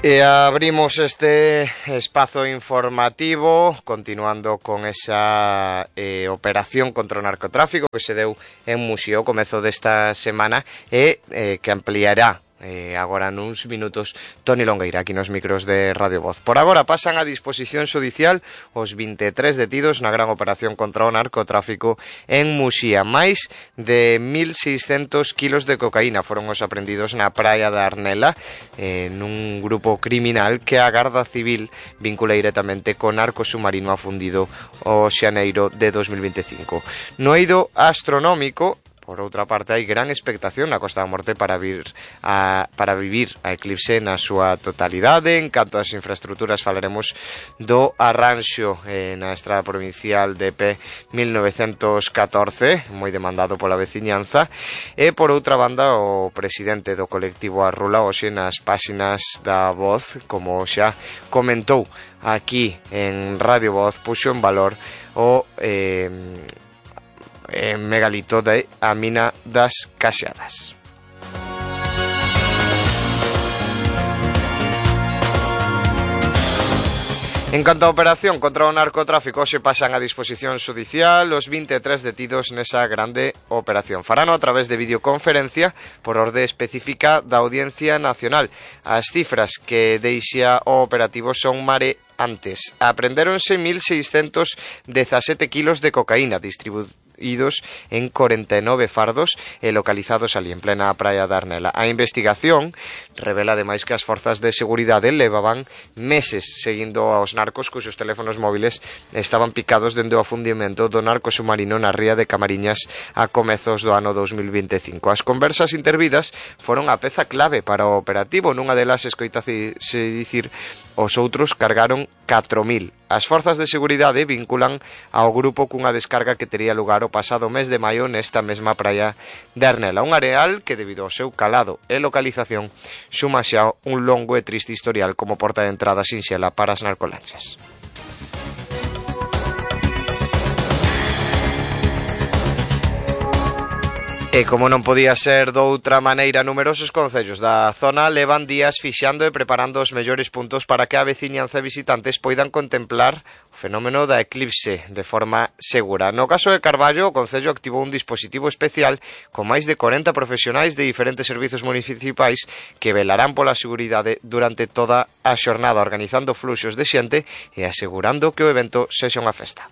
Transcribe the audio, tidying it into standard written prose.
Abrimos este espazo informativo continuando con esa operación contra o narcotráfico que se deu en Muxía ao comezo desta semana e que ampliará agora nuns minutos Toni Longueira aquí nos micros de Radio Voz. Por agora pasan a disposición xudicial os 23 detidos na gran operación contra o narcotráfico en Muxía. Máis de 1.600 kilos de cocaína foron os aprendidos na praia da Arnela nun grupo criminal que a Garda Civil vincula directamente co narco submarino afundido o xaneiro de 2025. No eido astronómico, por outra parte, hai gran expectación na Costa da Morte para vivir a eclipse na súa totalidade. En canto ás infraestructuras, falaremos do arranxo na estrada provincial de P1914, moi demandado pola veciñanza, e por outra banda o presidente do colectivo Arrula hoxe nas páxinas da Voz, como xa comentou aquí en Radio Voz, puxo en valor o megalito de a mina das Caxadas. En canto á operación contra o narcotráfico, hoxe pasan a disposición xudicial os 23 detidos nesa grande operación. Farano a través de videoconferencia por orde específica da Audiencia Nacional. As cifras que deixa o operativo son mareantes. Aprendéronse 1.617 kilos de cocaína distribuídos en 49 fardos e localizados ali en plena praia da Arnela. A investigación revela ademais que as forzas de seguridade levaban meses seguindo aos narcos cuxos teléfonos móviles estaban picados dende o afundimento do narco submarino na ría de Camariñas a comezos do ano 2025. As conversas intervidas foron a peza clave para o operativo. Nunha delas escoitase dicir os outros cargaron 4.000. As forzas de seguridade vinculan ao grupo cunha descarga que tería lugar o pasado mes de maio nesta mesma praia de Arnela. Un areal que, debido ao seu calado e localización, suma xa un longo e triste historial como porta de entrada sinxela para as narcolanchas. E como non podía ser doutra maneira, numerosos concellos da zona levan días fixando e preparando os mellores puntos para que a veciñanza e visitantes poidan contemplar o fenómeno da eclipse de forma segura. No caso de Carballo, o concello activou un dispositivo especial con máis de 40 profesionais de diferentes servizos municipais que velarán pola seguridade durante toda a xornada, organizando fluxos de xente e asegurando que o evento sexa unha festa.